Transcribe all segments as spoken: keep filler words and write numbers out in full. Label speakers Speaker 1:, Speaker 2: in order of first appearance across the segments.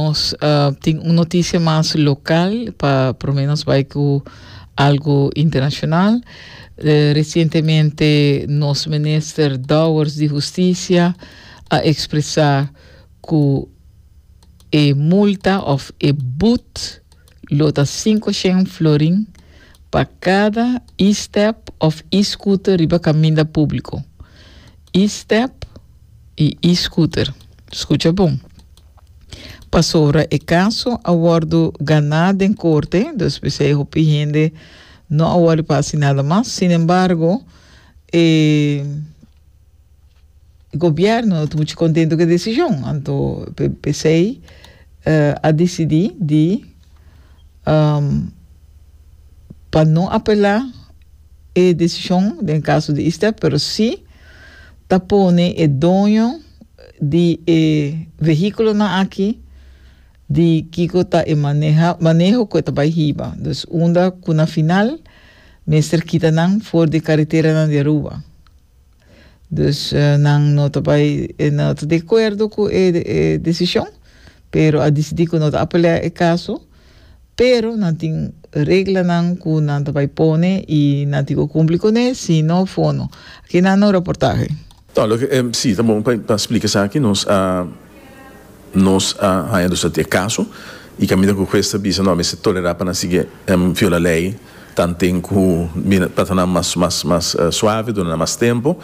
Speaker 1: Nos uh, tin un notisia mas lokal pa por menos bai ku algu internashonal. Uh, resientemente nos minister Dowers di Hustisia a ekspresá ku e multa òf e boet lo ta sinku florin pa kada e-step òf e-scooter riba kaminda públiko. E-step i e-scooter. Skucha bon. Pasobra e kaso a wòrdu ganá den korte, dus p'esei hopi hende no a wòrdu pa nada mas. Sin embargo, eh, gobièrnu no ta muchu kontentu ku e desishon. Anto, p'esei uh, a disidí di um, pa no apelá e desishon den kaso di e-step, pero si ta pone e doño di e vehíkulonan aki di kiko ta e maneha, maneho ku ta bai hiba. Dus unda ku na final mester kita nan for di kareteranan di Aruba. Dus uh, nan no ta bai no ta di akuerdo ku e, e desishon, pero a disidí ku no ta apelá e kaso, pero nan tin reglanan ku nan ta bai pone i nan tin ku kumpli kuné, si no fono. Aki nan no reportahe.
Speaker 2: No, loke, eh, si, ta bon pa splika aki, nos a nos a haña dus e kaso i kaminda ku hues a bisa no, mester tolerá pa nan sigui um, viola lei tanten ku pa mas mas mas uh, suave durante mas tempu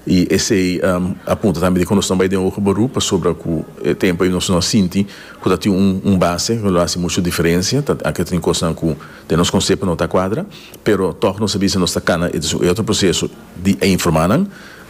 Speaker 2: i esei um, a punta tambe di ku nos no a bai den hoger beroep pasobra ku e tempu ei nos no a sinti ku tin un, un base ku no ta hasi muchu diferensia. Aki tin kos ku den nos konsepto no ta kuadra, pero toch nos sa nos ta kana e otro proseso di informá nan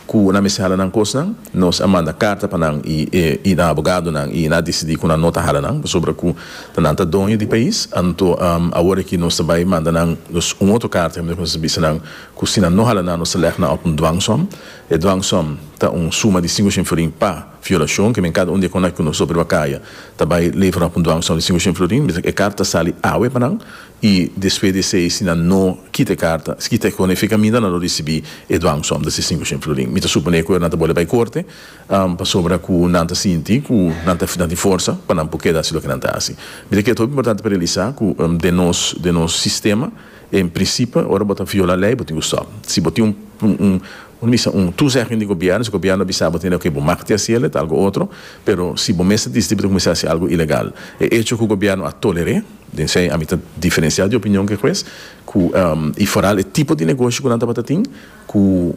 Speaker 2: ku nan mester hala nan kosnan. Nos a manda karta pa nan i, i, i nan abogadonan i nan a disidí ku nan no ta hala nan, pasobra ku nan ta doño di pais. Anto um, awor ku nos tambe manda nan nos un otro karta ku nos bisa nan ku si nan no hala nan, nos leg nan op un dwangsom. E dwangsom ta un suma di sinku florin pa violashon, ke men kada un di ku nos sobre kaya tambe levera op un dwangsom di sinku florin. E karta sali awe pa nan i despues di esei, si nan no kita e karta, kita ku e kaminda, nan lo risibí e dwangsom di sinku florin. Mi ta suponé ku nan ta bolbe bai korte um, pasobra ku nan ta sinti ku nan ta nan forsa pa nan por keda hasi loke nan ta hasi. Mi ta kere ta importante pa realisá ku um, den nos den nos sistema, en prinsipio, ora bo ta viola lei, bo tin ku stòp. Si bo tin un un, un un un toezegging di gobièrnu, si gobièrnu bisa bo tin ku bo mag hasi ta algu otro, pero si bo mes disidí kuminsá hasi algu ilegal, e echo ku gobièrnu a tolerá, den esei ami ta diferensiá di opinion ku hues, ku um, i vooral e tipo di negoshi ku nan tabatin, ku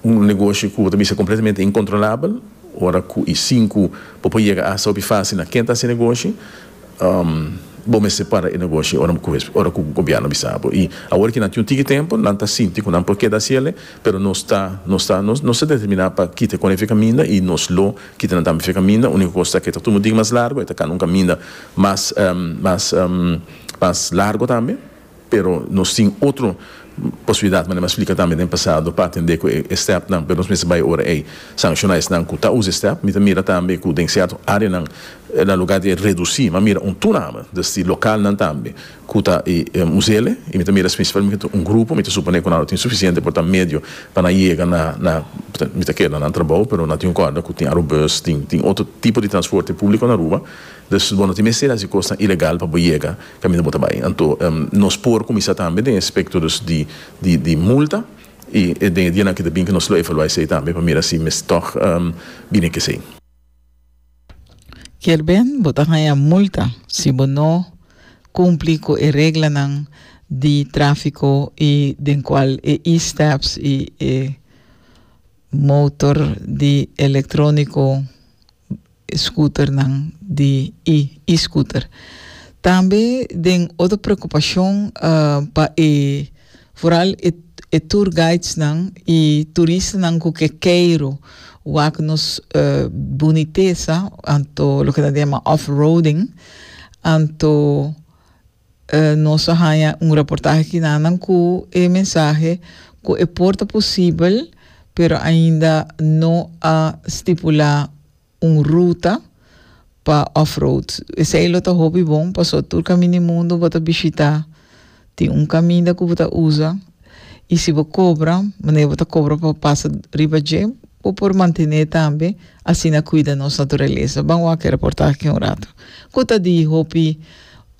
Speaker 2: un negoshi ku tambe ta kompletamente inkontrolabel, ora ku i sinku por yega a fásil na ken ta hasi negoshi, um, bo mester para e negoshi ora ku ora ku gobièrnu bisa bo. I awor ku nan tin un tiki tempu, nan ta sinti ku nan por keda hasi, pero nos ta nos ta nos nos ta determiná pa kita ku e kaminda i nos lo kita nan tambe kaminda. Úniko kos ku ta tur dia mas largu, ta un kaminda mas um, mas um, mas largu tambe, pero nos tin otro posibilidat, mas mi a splika tambe den pasado pa atendé ku e stepnan, pero nos mester bai ora ei sanshoná esnan ku ta usa step. Mi mira tambe ku den sierto áreanan, na lugá di redusí, m'a mira un toename, dus di lokalnan tambe ku ta e us'é, i mi mira spesialmente un grupo, mi ta suponé ku nan tin sufisiente por ta medio pa nan yega na na mi ta kere na trabou, pero nan tin un korda ku tin Arubus, tin tin otro tipo di transporte públiko na Aruba. Dus bo no tin mester hasi kos ilegal pa yega kaminda bo ta bai. Anto um, nos por kuminsá tambe den aspekto di di di multa i den dia ku bin ku nos lo evaluá esei tambe pa mira si mester toch um, bini ku esei.
Speaker 1: Kier ben, bo ta haña multa si bo no kumpli ku e reglanan di tráfiko i den kual e e-steps i e motor di elektróniko scooternan di e e-scooter. Tambe den otro preokupashon uh, pa e vooral e, e tour guides nan i turistanan ku ke keiru wak nos uh, bunitesa, anto loke nan yama off-roading. Anto uh, nos a haña un reportahe aki nan ku e mensahe ku e por ta posibel, pero ainda no a stipulá un ruta pa off-road. Esei lo ta hopi bon, paso tur kaminda di mundu bo ta bishitá, tin un kaminda ku bo ta usa i si bo kobra, manera bo ta kobra pa pasa riba dje, Bo por mantené tambe, asina kuida nos naturalesa. Ban wak e reportahe un ratu. Ku ta di hopi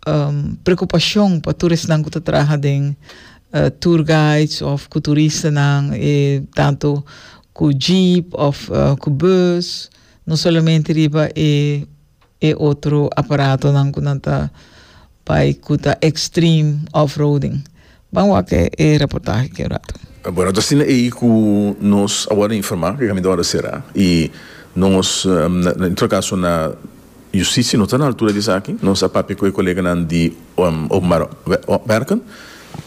Speaker 1: um, preokupashon pa turistanan ku ta traha den uh, tour guides òf ku turistanan, e tantu ku jeep òf uh, ku bus, no solamente riba e e otro aparatonan ku nan ta bai ku ta extreme off-roading. Ban wak e reportahe aki un ratu.
Speaker 2: Bueno, asina ei ku nos awor a informá ku e kaminda a sera i nos, um, en todo kaso na hustisia no ta na altura di esaki. Nos a papia ku e koleganan di um, openbaar werken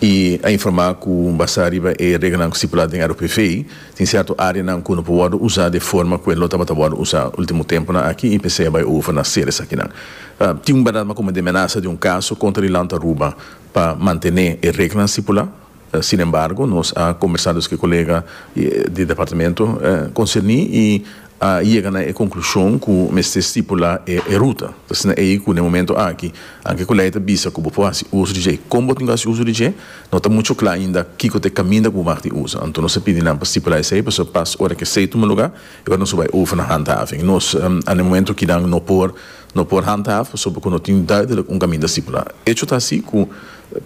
Speaker 2: i a informá ku basá riba e reglanan stipulá den R O P V tin sierto áreanan ku no por usa di forma ku e tabata usa último tempunan aki i p'esei bai over na sera esakinan. Uh, tin un berdat komo di menasa di un kaso kontra Land Aruba pa mantené e reglanan stipulá. Uh, sin embargo, nos a kombersá ku e kolega di departamento uh, konserní i a yega na konklushon ku mester stipulá e, e ruta. Anto, ei ku na momento aki, aunke ku lei ta bisa ku bo por hasi uso di dje, kon bo tin uso di dje, no ta muchu kla ainda kiko ta e kaminda ku bo usa. Anto, nos a pidi nan pa stipulá esei, pa pas ora ku esei tuma lugá, i awor nos bai over na handhaving. Nos, um, na momento ku nan no por no por handhaven, pasobra no tin duidelijk un kaminda stipulá. Hecho ta asina ku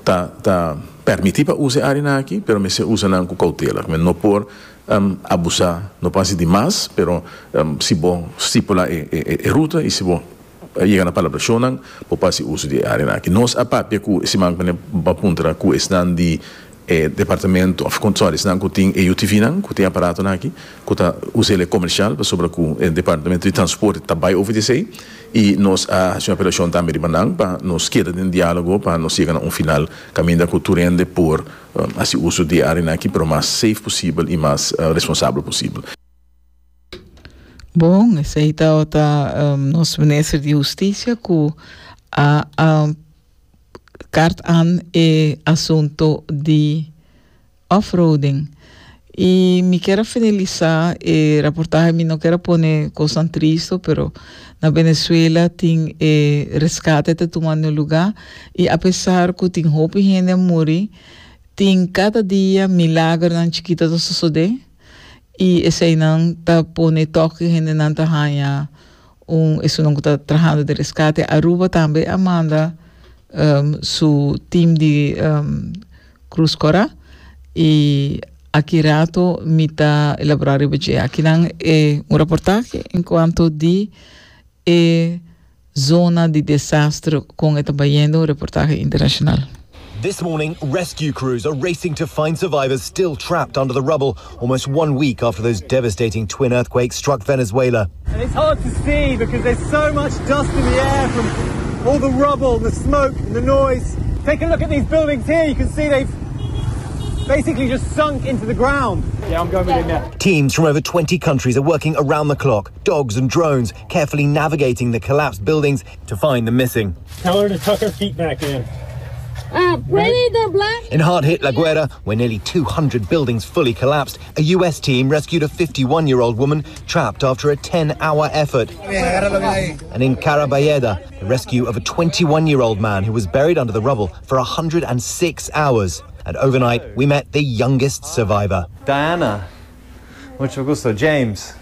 Speaker 2: ta ta permití pa usa e área aki, pero mester usa nan ku koutela. No por um, abusá, no pasa di mas, pero um, si bo stipulá e, e, e ruta i si bo yega na palabrashon, por hasi uso di e área aki. Nos a papia ku siman pa puntra ku esnan di eh, departamento of sorry, esnan ku tin U T V nan, ku tin aparatonan aki, ku ta usa e komersial, pasobra ku e departamento di transporte ta bai over di esei i nos a hasi un apelashon tambe riba nan pa nos keda den diálogo pa nos yega na un final kaminda ku tur hende por um, hasi uso di e área aki, pero mas safe posibel i mas uh, responsabel posibel.
Speaker 1: Bon, esei ta um, nos minister di hustisia ku a, a kaart aan e asuntu di off-roading. I mi ke finalisá e reportahe, mi no ke pone kos tristu, pero na Venezuela tin eh, reskate ta tumando lugá i apesar ku tin hopi hende muri, tin kada dia milagernan chikitu ta sosodé i eseinan ta pone toke hendenan ta haña un esnan ta trahando di reskate. Aruba tambe a manda um, su team di um, Cruz Cora i aki ratu mi ta elaborá akinan e un reportahe en kuanto di e zona di desaster kon ta bayendo, un reportahe internashonal.
Speaker 3: This morning, rescue crews are racing to find survivors still trapped under the rubble almost one week after those devastating twin earthquakes struck Venezuela.
Speaker 4: And it's hard to see because there's so much dust in the air from all the rubble, the smoke, and the noise. Take a look at these buildings here. You can see they've basically just sunk into the ground. Yeah, I'm going with him now.
Speaker 3: Teams from over twenty countries are working around the clock, dogs and drones carefully navigating the collapsed buildings to find the missing.
Speaker 4: Tell her to tuck her feet back in.
Speaker 5: Uh, pretty the black.
Speaker 3: In hard hit La Guaira, where nearly two hundred buildings fully collapsed, a U S team rescued a fifty-one year old woman trapped after a ten hour effort. And in Caraballeda, the rescue of a twenty-one year old man who was buried under the rubble for one hundred six hours. And overnight, we met the youngest survivor.
Speaker 6: Diana. Mucho gusto. James.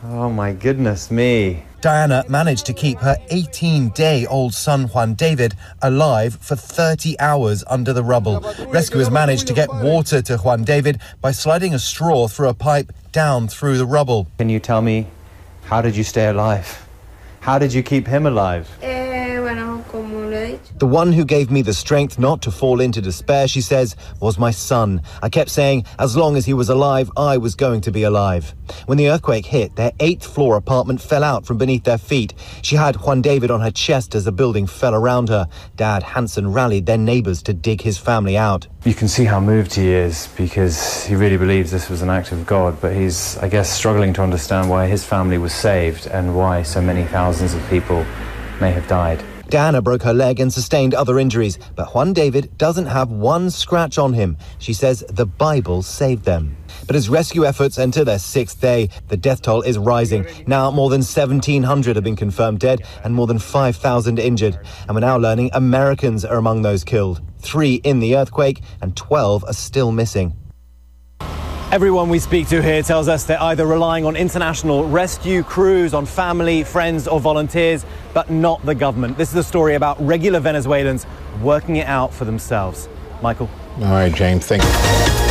Speaker 6: Oh my goodness me.
Speaker 3: Diana managed to keep her eighteen day old son Juan David alive for thirty hours under the rubble. Rescuers managed to get water to Juan David by sliding a straw through a pipe down through the rubble.
Speaker 6: Can you tell me, how did you stay alive? How did you keep him alive?
Speaker 5: Eh, bueno, como lo he dicho.
Speaker 3: "The one who gave me the strength not to fall into despair," she says, "was my son. I kept saying as long as he was alive, I was going to be alive." When the earthquake hit, their eighth floor apartment fell out from beneath their feet. She had Juan David on her chest as the building fell around her. Dad Hanson rallied their neighbors to dig his family out.
Speaker 6: You can see how moved he is because he really believes this was an act of God, but he's, I guess, struggling to understand why his family was saved and why so many thousands of people may have died.
Speaker 3: Diana broke her leg and sustained other injuries, but Juan David doesn't have one scratch on him. She says the Bible saved them. But as rescue efforts enter their sixth day, the death toll is rising. Now more than one thousand seven hundred have been confirmed dead and more than five thousand injured. And we're now learning Americans are among those killed. Three in the earthquake and twelve are still missing.
Speaker 4: Everyone we speak to here tells us they're either relying on international rescue crews, on family, friends, or volunteers, but not the government. This is a story about regular Venezuelans working it out for themselves. Michael.
Speaker 7: All right, James, thank you.